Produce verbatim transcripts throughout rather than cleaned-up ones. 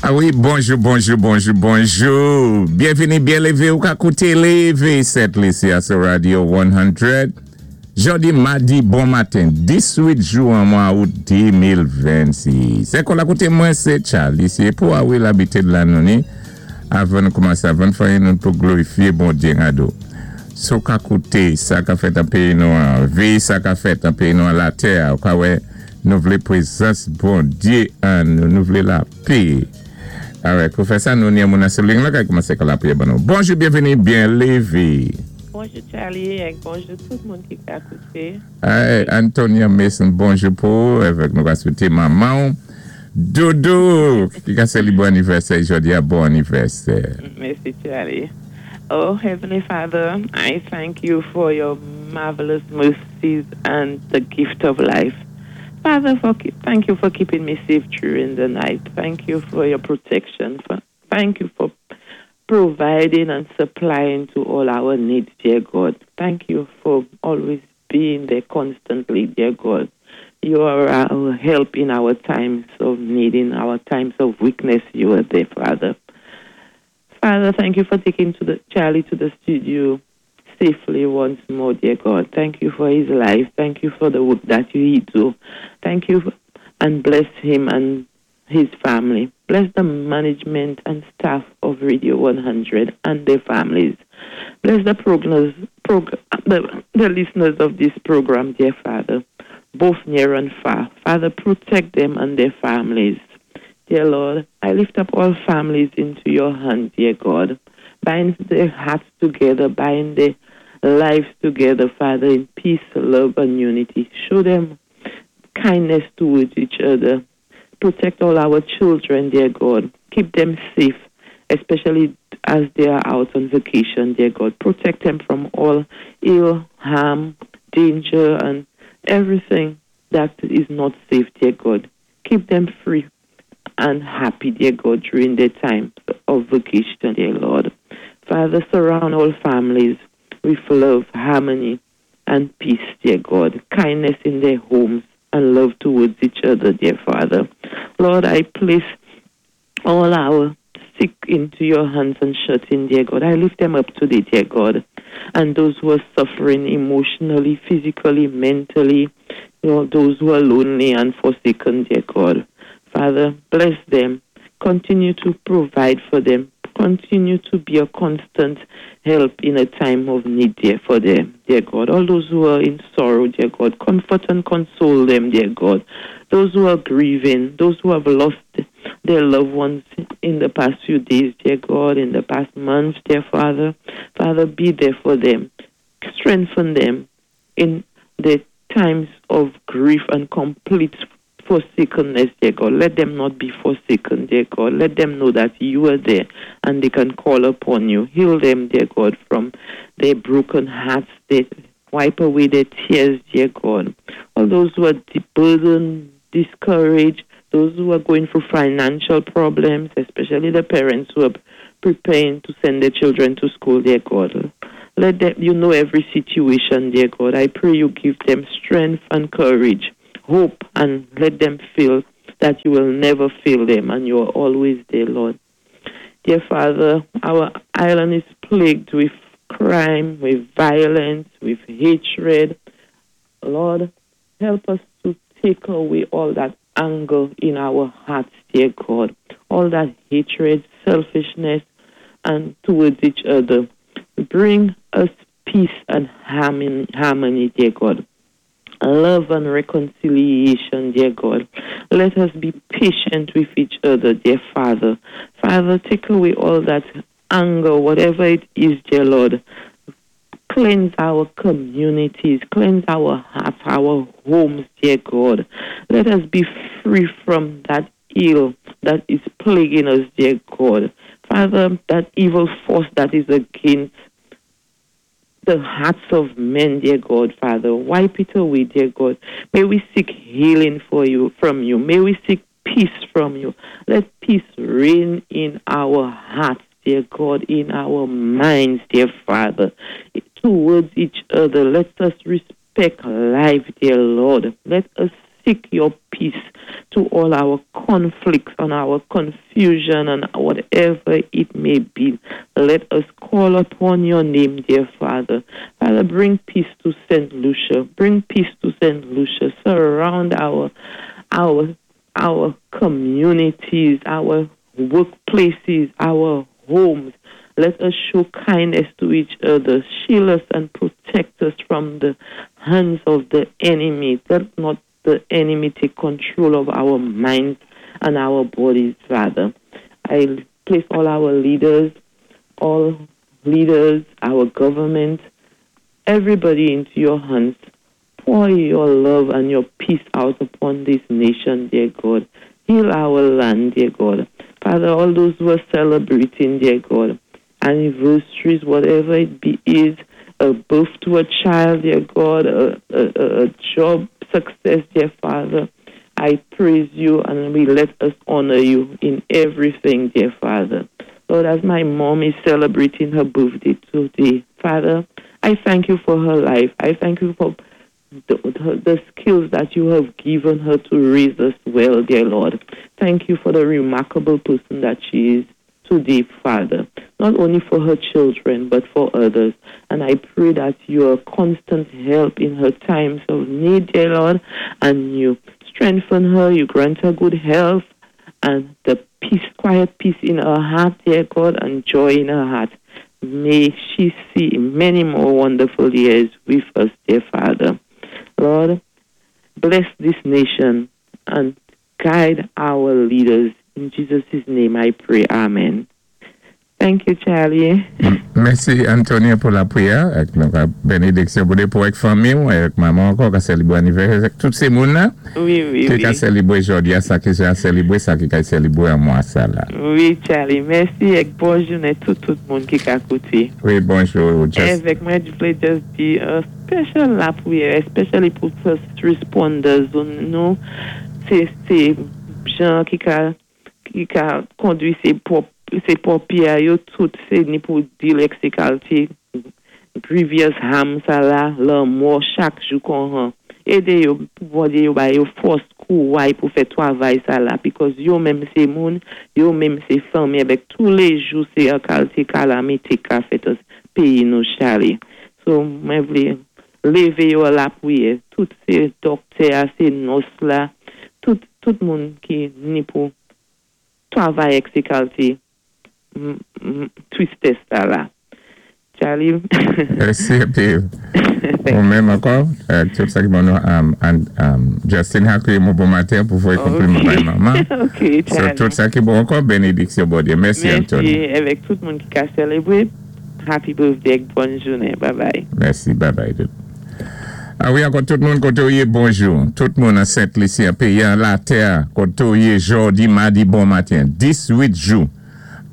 A wi, bonjou, bonjou, bonjou, bonjou. Byenvini, byen lévé ou ka kouté Lévé Sent Lisi a sou Radio san. Jòdi, madi, bon maten, dizuit jwen mwa out de mil vennsis. Se kon la koute mwen se Charlie, se pou a wi l'habite de la nouni. Avan nou koumansé, avan fè nou pou glorifié Bondyé gado. So ka kouté, sa ka fèt an péyi nou an, véyé sa ka fèt an péyi nou an latè, ou ka wè, nou vlé pwézans Bondyé an nou, nou vlé lapè. Alright, pou fè sa, nou ni an moun an sou liy la, ka koumansé ka lapriyè ban nou. Bonjou, byenvini, byen lévé. Bonjou Charlie é bonjou tout moun ki ka kouté. Hey, Antonia Mason, bonjou pou, avèk nou ka swété manman. Dodo, ki ka sé li bon anivèsè, jòdi a bon anivèsè. Mèsi Charlie. Oh Heavenly Father, I thank you for your marvelous mercies and the gift of life. Father, for keep, thank you for keeping me safe during the night. Thank you for your protection. For, thank you for providing and supplying to all our needs, dear God. Thank you for always being there constantly, dear God. You are our help in our times of need, in our times of weakness. You are there, Father. Father, thank you for taking to the Charlie to the studio safely once more, dear God. Thank you for his life. Thank you for the work that you do. Thank you and bless him and his family. Bless the management and staff of Radio one hundred and their families. Bless the, prognos, prog, the, the listeners of this program, dear Father, both near and far. Father, protect them and their families. Dear Lord, I lift up all families into your hand, dear God. Bind their hearts together, bind their lives together, Father, in peace, love, and unity. Show them kindness towards each other. Protect all our children, dear God. Keep them safe, especially as they are out on vacation, dear God. Protect them from all ill, harm, danger, and everything that is not safe, dear God. Keep them free and happy, dear God, during their time of vacation, dear Lord. Father, surround all families with love, harmony, and peace, dear God. Kindness in their homes and love towards each other, dear Father. Lord, I place all our sick into your hands and shut in, dear God. I lift them up today, dear God. And those who are suffering emotionally, physically, mentally, you know, those who are lonely and forsaken, dear God. Father, bless them. Continue to provide for them. Continue to be a constant help in a time of need, dear, for them, dear God. All those who are in sorrow, dear God, comfort and console them, dear God. Those who are grieving, those who have lost their loved ones in the past few days, dear God, in the past months, dear Father. Father, be there for them. Strengthen them in the times of grief and complete forsakenness, dear God. Let them not be forsaken, dear God. Let them know that you are there and they can call upon you. Heal them, dear God, from their broken hearts. They wipe away their tears, dear God. All those who are burdened, discouraged, those who are going through financial problems, especially the parents who are preparing to send their children to school, dear God. Let them, you know every situation, dear God. I pray you give them strength and courage, hope, and let them feel that you will never fail them and you are always there, Lord. Dear Father, our island is plagued with crime, with violence, with hatred. Lord, help us to take away all that anger in our hearts, dear God, all that hatred, selfishness, and towards each other. Bring us peace and harmony, harmony, dear God. Love and reconciliation, dear God. Let us be patient with each other, dear Father. Father, take away all that anger, whatever it is, dear Lord. Cleanse our communities, cleanse our hearts, our homes, dear God. Let us be free from that ill that is plaguing us, dear God. Father, that evil force that is against the hearts of men, dear God, Father. Wipe it away, dear God. May we seek healing for you from you. May we seek peace from you. Let peace reign in our hearts, dear God, in our minds, dear Father, towards each other. Let us respect life, dear Lord. Let us seek your peace to all our conflicts and our confusion and whatever it may be. Let us call upon your name, dear Father. Father, bring peace to Saint Lucia. Bring peace to Saint Lucia. Surround our our our communities, our workplaces, our homes. Let us show kindness to each other. Shield us and protect us from the hands of the enemy. Let not the enemy take control of our minds and our bodies, Father. I place all our leaders, all leaders, our government, everybody into your hands. Pour your love and your peace out upon this nation, dear God. Heal our land, dear God. Father, all those who are celebrating, dear God, anniversaries, whatever it be is, a birth to a child, dear God, a, a, a job success, dear Father. I praise you and we let us honor you in everything, dear Father. Lord, as my mom is celebrating her birthday today, Father, I thank you for her life. I thank you for the, the, the skills that you have given her to raise us well, dear Lord. Thank you for the remarkable person that she is today, Father, not only for her children, but for others. And I pray that your constant help in her times of need, dear Lord, and you strengthen her, you grant her good health, and the peace, quiet peace in her heart, dear God, and joy in her heart. May she see many more wonderful years with us, dear Father. Lord, bless this nation and guide our leaders. In Jesus' name I pray. Amen. Thank you, Charlie. Mèsi, Antonia, pou lapwiyè. Avèk la bénédiksyon pou pou avèk fanmi, avèk manman ankò, ki sélébwé anivèsè, tout sé moun-la. Wi, wi, Ki wi. ka sélébwé jòdi-a, sa ki ka sélébwé, sa ki ka sélébwé an mwa sa la. Wi, Charlie. Mèsi é bòn jounen tout tout moun ki ka kouté. Wi, bonjou. Just, Avèk mwen, mwen vlé just di yon special lapwiyè, especially pou first responders. Nou, sé sé jan ki ka ki ka kondwi sé pwòp sé ponpyé yo tout sé ni pou deal avèk sé kalité grievous harm sa la lanmò chak jou kon édé yo pou Bondye yo ba yo fòs kouway pou fè twavay sa la because yo menm sé moun yo menm sé fanmi avèk tou lé jou sé yon kalité kalamité ka fèt péyi nou Charlie. So mwen vlé lévé yo lapwiyè tout sé doktè sé nurse la tout tout moun ki ni pou twavay avèk sé kalité mm, mm, tristès sa la. Charlie. Mèsi, épi, ou menm ankò, euh, tout sa ki bon, um, and, um, Justin a ékri mwen bon maten pou voyé konpliman bay manman. Ok, So, Charlie. tout sa ki bon ankò, bénédiksyon Bondye. Mèsi, Mèsi Antonia. Avèk tout moun ki ka sélébwé. Happy birthday, bòn jounen. Bye bye. Mèsi, bye bye. A wi, ankò tout moun koté ou yé, bonjou. Tout moun an Sent-Lisi, an péyi an latè, koté ou yé jòdi, madi, bon maten. Dis-wit jou.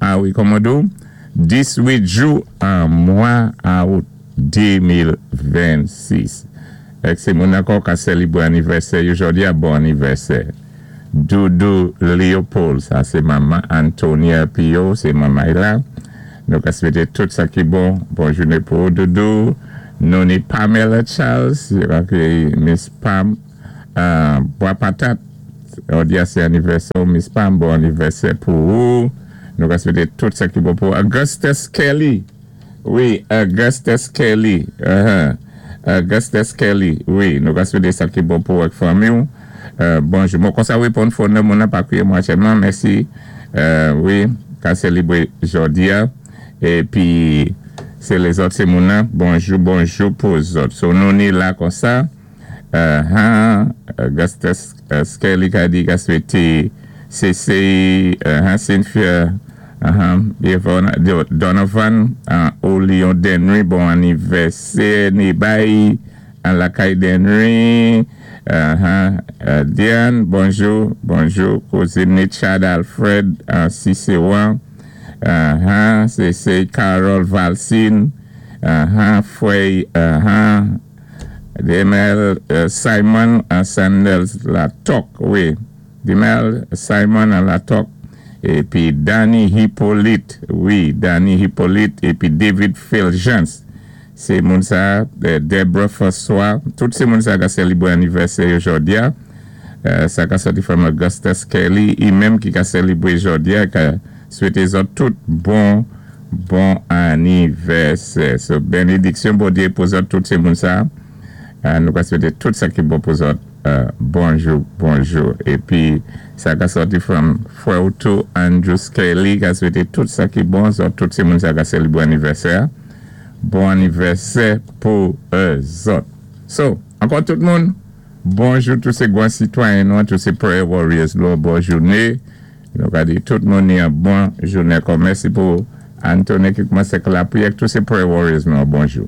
A wi, kòman do? Dis-wit jou an mwa out de mil vennsis. Èk sé moun ankò ka sélébwé anivèsè, jòdi a bon anivèsè. Doudou Léopold, sa sé manman Antonia Pio, sé manman la. Nou ka swété tout sa ki bon. Bon jounen pou Doudou. Nou ni Pamela Charles, Miss Pam, euh, Bois Patate, jòdi a sé anivèsè, Miss Pam, bon anivèsè pou ou. Nou ka swété tout sa ki bon pou Augustus Kelly. Wi, Augustus Kelly. Uh-huh. Augustus Kelly. Wi, nou ka swété sa ki bon pou avèk fanmi. Euh, bonjou. Bon, konsa, wi, pou yon fwa, moun nan pa kwiyé mwen aktyèlman. Mèsi. Euh, wi, ka sélébwé jòdi a. Épi, sé lézòt, sé moun nan. Bonjou, bonjou pou zòt. So, nou ni la konsa. Uh, huh, Augustus uh, Kelly ka di ka swété C C, uh, Cynthia, uh-huh, Yvonne, Donovan, uh, Olion Denry, bon anivèsè, Nibay, an lakay Denry, uh-huh, uh, Diane, bonjou, bonjou, kouzin Richard Alfred, uh, Ciceron, uh-huh, C C Carol Valsine, uh-huh, Frey, uh-huh, Demel uh, Simon uh, Sanders Latok, wi, Demel Simon Latok, épi Danny Hippolyte, wi, Danny Hippolyte, épi David Fulgence. Sé moun sa, Deborah François, tout sé moun sa ki sélébwé anivèsè jòdi a. Euh, sa ka sòti from Augustus Kelly, i menm ki ka sélébwé jòdi-a, ka swété zòt tout bon, bon anivèsè. So, bénédiksyon Bondyé pou zòt tout sé moun sa. Euh, nou ka swété tout sa ki bon pou zòt. Euh, bonjou, bonjou. Épi, sa ka sòti from frè tou Andrew Kelly, ka swété tout sa ki bon, zòt tout sé moun sa ka sélébwé anivèsè. Bon anivèsè pou zòt. So, ankò tout moun, bonjou tout sé gwan sitwayen nou, tout sé prayer warriors nou, bon jouné. Nou ka di tout moun ni yon bon jouné. Kon mèsi pou Anthony ki koumansé ak lapriyè, tout sé prayer warriors nou, bonjou.